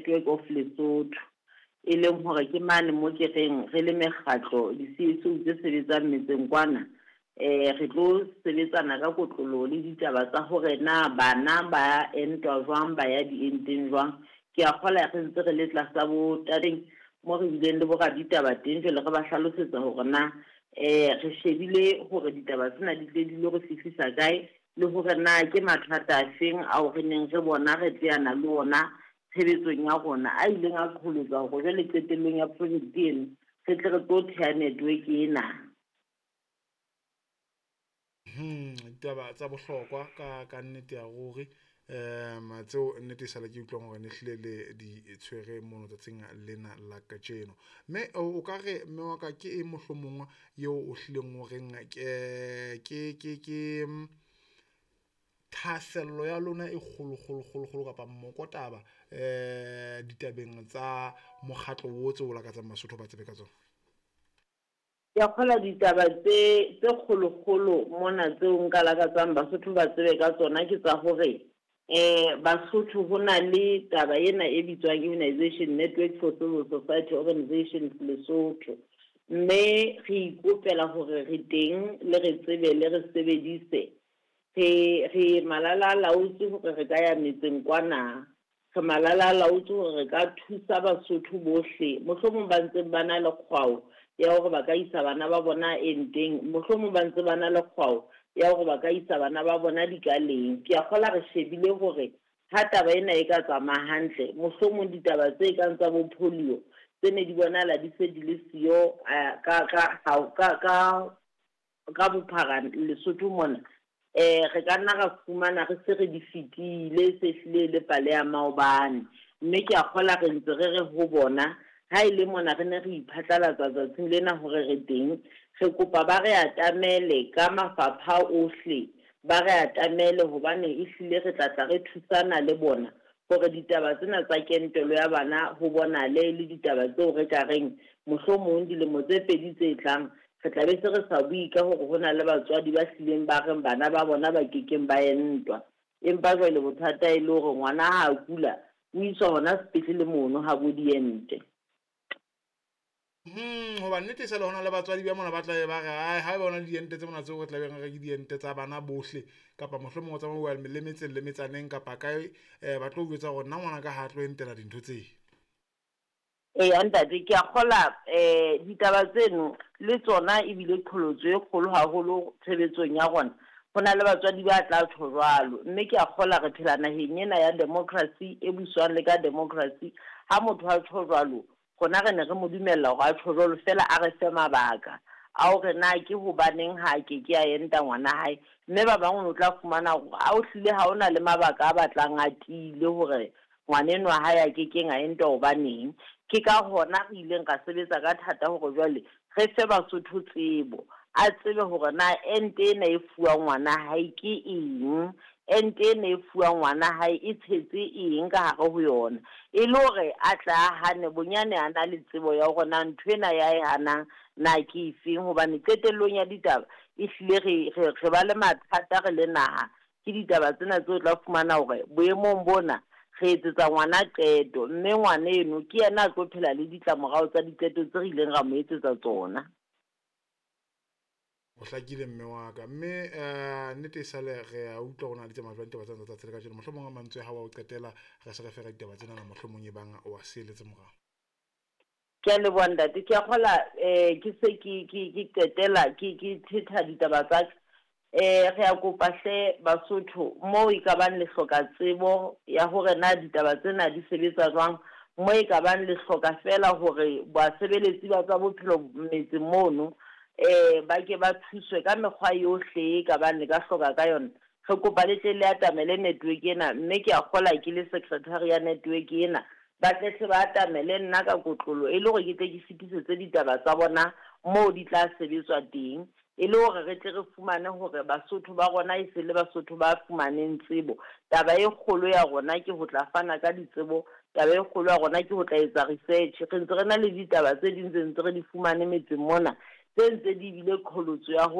Network of Lesotho, e leng hore ke mane mo ke reng re le mekgatlo di-C_S_O tse sebetsang metseng kwana, re tlo sebetsana ka kotloloho le ditaba tsa hore na bana ba entwa jwang, ba ya dienteng jwang. Ke a kgola re ntse re le tlasa bo tabeng mo re bileng le bo raditaba teng, jwale re ba hlalosetsa hore na re shebile hore ditaba tsena di tle di lo re fihlisa kae, le hore na ke mathata a feng ao re neng re bona re teana le ona tshebetsong ya rona, a ileng a qholotsa hore jwale qetellong ya project eno re tle re tlo theha network ena. Ditaba tsa bohlokwa ka nnete ya ruri, tseo nnete e sale ke utlwang hore ne hlile le di tshwere mono tsatsing lena la kajeno. Mme o ka re mme wa ka ke eng mohlomong eo o hlileng o reng ke thahasello ya lona e kgolo kgolo kgolo kgolo kapa mokotaba ditabeng tsa mokgatlo o tseo lakatsang Basotho ba tsebe ka tsona? Ke a kgola ditaba tse kgolokgolo mona tseo nka lakatsang Basotho ba tsebe ka tsona ke tsa hore Basotho ho na le taba ena e bitswang Immunization Network for Civil Society Organizations Lesotho, mme re ikopela hore re teng le re tsebe le re sebedise. Re malala laotse hore re ka ya metseng kwana, re malala laotse hore re ka thusa Basotho bohle mohlomong ba ntseng ba na le kgwao ya hore ba ka isa bana ba bona enteng, mohlomong ba ntse ba na le kgwao ya hore ba ka isa bana ba bona dikaleng. Ke a kgola re shebile hore ha taba ena e ka tsamaya hantle, mohlomong ditaba tse kang tsa bo polio tse ne di bonahala di se di le siyo ka bophara Lesotho mona, re ka nna ra fumana re se re di fetile, se hlile le pale ya maobane. Mme ke a kgola re ntse re re ho bona ha e le mona re ne re iphatlalatsa tsatsing lena hore re teng, re kopa ba re atamele ka mafapha ohle, ba re atamele hobane ehlile re tla tla re thusana le bona hore ditaba tsena tsa kentelo ya bana ho bonale le ditaba tseo re ka reng mohlomong dilemo tse pedi tse tlang re tla be se re sa bue ka hore ho na le batswadi ba hlileng ba reng bana ba bona ba kekeng ba entwa. Empa jwale bothata e le hore ngwana ha a kula o iswa hona sepetlele mono ha bo diente. Hoba nnete e sa le hona le batswadi ba mona ba tla ba re ai ha ba bona diente tse mona tseo re tla beng re ke diente tsa bana bohle, kapa mohlomong o tsamaya le metseng le metsaneng kapa kae, ba tlo jwetsa hore nna ngwana ka ha tlo entela dintho tse. Eya ntate, ke a kgola ditaba tseno le tsona ebile qholotso e kgolo haholo tshebetsong ya rona. Ho na le batswadi ba tla tjho jwalo, mme ke a kgola re phela naheng ena ya democracy e buswang le ka democracy. Ha motho a tjho jwalo, rona re ne re mo dumella hore a tjho jwalo, fela a re fe mabaka a hore na ke hobaneng ha ke ke a enta ngwana hae. Mme ba bang o tla fumana hore a o hlile ha ona le mabaka a batlang a tiile hore ngwaneno wa hae a kekeng a entwa hobaneng. Ke ka hona re ileng ra sebetsa ka thata hore jwale re fe Basotho tsebo, a tsebe hore na ente ena e fuwang ngwana hae ke eng, ente ena e fuwang ngwana hae e tshetse eng ka hare ho yona, e le hore a tla hane bonyane a na le tsebo ya hore na ntho ena ya e hanang na ke efeng. Hobane qetellong ya ditaba ehlile re ba le mathata re le naha. Ke ditaba tsena tseo tla fumana hore boemong bona re etsetsa ngwana qeto, mme ngwana eno ke yena a tlo phela le ditlamorao tsa diqeto tse re ileng ra mo etsetsa tsona. O hlakile mme wa ka, mme nnete e sale re a utlwa hore na di tsamaya jwang ditaba tsena tsa tsatsi la kajeno. Mohlomong a mantswe a hao a ho qetela re se re fera ditaba tsena, mohlomong e bang wa seeletse morao. Ke a leboha ntate, ke a kgola ke se ke qetela ke thetha ditaba tsa ka. Re a kopa hle Basotho moo e ka bang le hloka tsebo ya hore na ditaba tsena di sebetsa jwang, mo e ka bang le hloka fela hore basebeletsi ba tsa bophelo metseng mono ba ke ba thuswe ka mekgwa yohle e ka bang le ka hloka ka yona. Re kopa le tle le atamele network ena, mme ke a kgola ke le secretary ya network ena, ba tle hle ba atamele nna ka kotlolo e le hore ke tle ke fetisetse ditaba tsa bona moo di tla sebetswa teng, e le hore re tle re fumane hore Basotho ba rona e se le Basotho ba fumaneng tsebo. Taba e kgolo ya rona ke ho tla fana ka ditsebo, taba e kgolo ya rona ke ho tla etsa research. Re ntse re na le ditaba tse ding tse ntse re di fumane metseng mona, tse ntse di bile qholotso ya ho